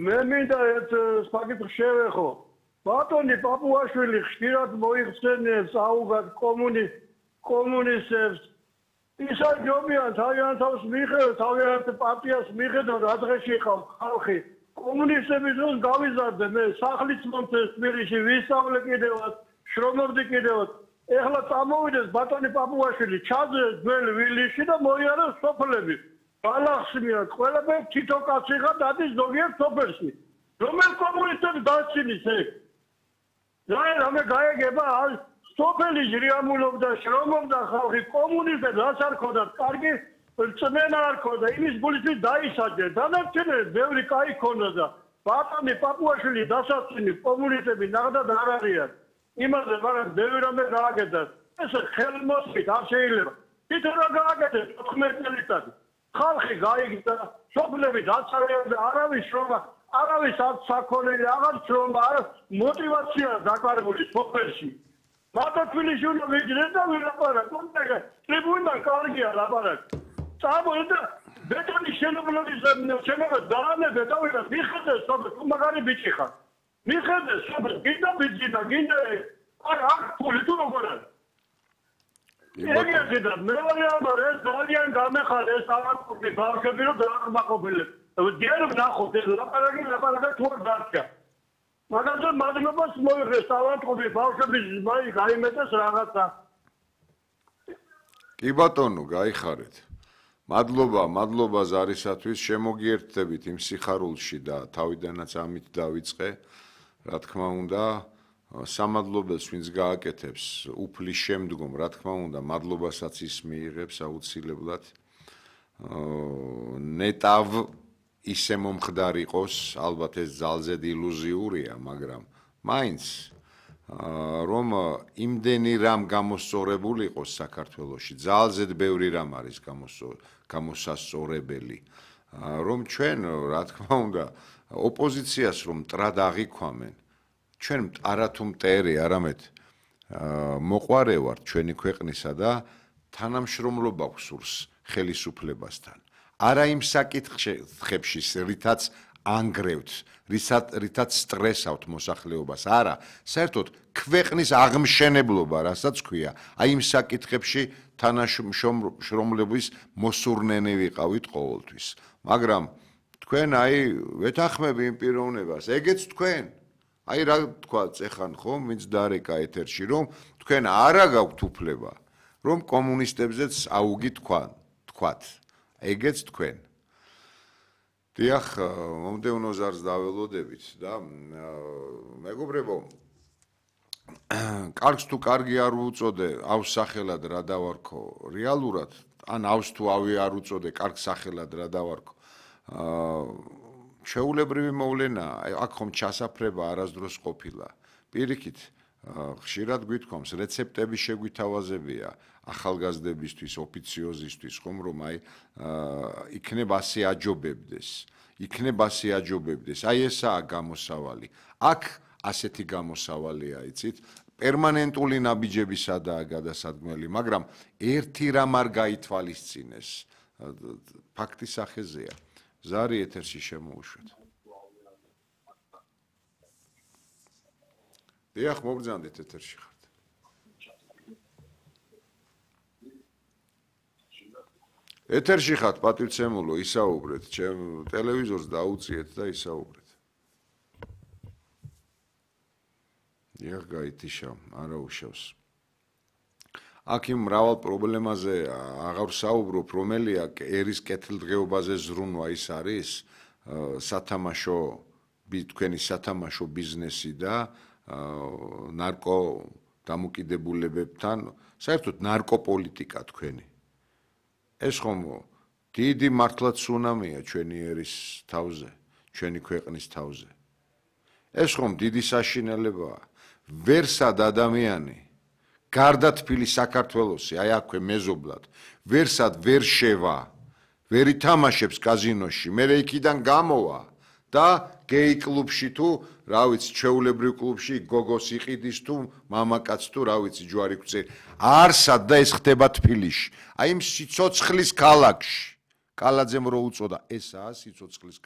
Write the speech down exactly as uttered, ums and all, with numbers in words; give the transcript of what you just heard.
მე მინდა ერთ საკითხს შევეხო. ბატონი პაპუაშვილი ხშირად მოიხსენიებს აუგად კომუნისტებს. ისა ჯობიან თავიანთ თავს მიხედავ, თავიანთ პარტიას მიხედავ, რა დღეში ხავ ხალხი. კომუნისტები დროს გავიზარდე მე სახლიც მომწეს თბილისში, ვისწავლე კიდევაც, შრომობდი კიდევაც. ეხლა წამოვიდეს ბატონი პაპუაშვილი, ჩაძეს ძველი ვილიში და მოიაროს სოფლები. გალახსნიათ, ყველაფერი თითო კაცი ხარ დადის ზოგიერთ სოფელში. რომელ კომუნისტებს დაცინით ეგ? რა რამე გაეგება სოფელი ჟრიამულობდა, შრომობდა ხალხი, კომუნისტებს რაც არ ქონდათ, კარგი რწმენა არ ქონდა, იმის გულისთვის დაისაჯეს. დანარჩენებს ბევრი კაი ქონდა და ბატონი პაპუაშვილი დასაცინი კომუნისტები ნახდათ არ არიან. იმაზე მაგრამ ბევრი რამე გააკეთეს. ეს ხელმოსით არ შეიძლება. თვითონ რა გააკეთეს ოთხმეტი წელიწადი. ხალხი გაიგდა, სოფლები დაცარიელდა და არავის შრომა, არავის არ საქონელი, აღარ შრომა, არა мотиваცია დაკარგული სოფელში. მარტო თბილისში უნდა ვიჯდეს და ვილაპარაკო. ტრიბუნიდან კარგია ლაპარაკი. წამოვიდა ბეტონის შენობლობის შენობა დაანებე და ვიღა მიხედეს სოფელს, მაგარი ბიჭი ხარ. მიხედეს სოფელს, გინდა ბიძინა, გინდა არ აქ ფული თუ როგორ არის? ეგეთი და მე ვარ ეს ძალიან გამეხარა ეს ავანტური ბავშვები რომ დაახმაყოფილებს. ჯერ ვნახოთ ეს ლაპარაკი ლაპარაკი თუ არ დარჩა. მაგაზე მადლობას მოიღეს ავანტური ბავშვების მაი გაიმეტეს რაღაცა. კი ბატონო, გაიხარეთ. მადლობა, მადლობა ზარისათვის შემოგიერთდებით იმ სიხარულში და თავიდანაც ამით დავიწყე. რა თქმა უნდა, სამადლობელს ვინც გააკეთებს უფლის შემდგომ, რა თქმა უნდა, მადლობასაც ის მიიღებს აუცილებლად. ნეტავ ისე მომხდარ იყოს, ალბათ ეს ძალზედ ილუზიურია, მაგრამ მაინც რომ იმდენი რამ გამოსწორებული იყოს საქართველოში, ძალზედ ბევრი რამ არის გამოსასწორებელი, რომ ჩვენ, რა თქმა უნდა, ოპოზიციას რომ მტრად აღიქვამენ, ჩვენ არათუ მტერი, არამედ მოყვარე ვართ ჩვენი ქვეყნისა და თანამშრომლობა გვსურს ხელისუფლებასთან. არა იმ საკითხებში, რითაც ანგრევთ, რითაც სტრესავთ მოსახლეობას, არა, საერთოდ ქვეყნის აღმშენებლობა, რასაც ქვია, აი იმ საკითხებში თანამშრომლობის მოსურნენი ვიყავით ყოველთვის. მაგრამ თქვენ აი ვეთანხმები იმ პიროვნებას, ეგეც თქვენ. აი რა თქვა წეხან ხომ, ვინც დარეკა ეთერში, რომ თქვენ არა გაქვთ უფლება, რომ კომუნისტებზეც აუგი თქვან, თქვათ. ეგეც თქვენ. დიახ, მომდევნო ზარს დაველოდებით და მეგობრებო, კარგს თუ კარგი არ უწოდე,ავს სახელად რა დავარქო, რეალურად, ანავს თუ ავი არ უწოდე, კარგ სახელად რა დავარქო. ჩვეულებრივი მოვლენა, აქ ხომ ჩასაფრება არასდროს ყოფილა. პირიქით, ხშირად გვითქვამს, რეცეპტების შეგვითავაზებია ახალგაზრდებისთვის, ოფიციოზისთვის, ხომ რომ აი იქნებ ასე აჯობებდეს, იქნებ ასე აჯობებდეს. აი ესაა გამოსავალი. აქ ასეთი გამოსავალია, იცით? პერმანენტული ნაბიჯებისადაა გადასადგმელი, მაგრამ ერთი რამ არ გაითვალისწინეს. ფაქტის სახეზეა. ზარი ეთერში შემოუშვეთ. დიახ, მოგზანდით ეთერში ხართ. ეთერში ხართ, პატივცემულო, ისაუბრეთ, ჩემ ტელევიზორს დაუწიეთ და ისაუბრეთ. დიახ, გაითიშა, არა უშავს. აქ იმ მრავალ პრობლემაზე აღარ საუბრობ, რომელია ერის კეთილდღეობაზე ზრუნვა ის არის სათამაშო, თქვენი სათამაშო ბიზნესი და ნარკო დამოკიდებულებებთან, საერთოდ ნარკოპოლიტიკა თქვენი. ეს ხომ დიდი მართლაც სუნამია ჩვენი ერის თავზე, ჩვენი ქვეყნის თავზე. ეს ხომ დიდი საშინელებაა. ვერსად ადამიანი გარდა თბილი საქართველოსი, აი აქვე მეზობლად, ვერსად ვერ შევა, ვერ ითამაშებს კაზინოში, მე იქიდან გამოვა და გეი კლუბში თუ, რა ვიცი, ჩვეულებრივ კლუბში გოგოს იყიდის თუ, მამაკაც თუ, რა ვიცი, ჯვარი გვწერი. არსად და ეს ხდება თბილისში. აი იმ სიცოცხლის ქალაქში. კალაძემ რო უწოდა, ესაა სიცოცხლის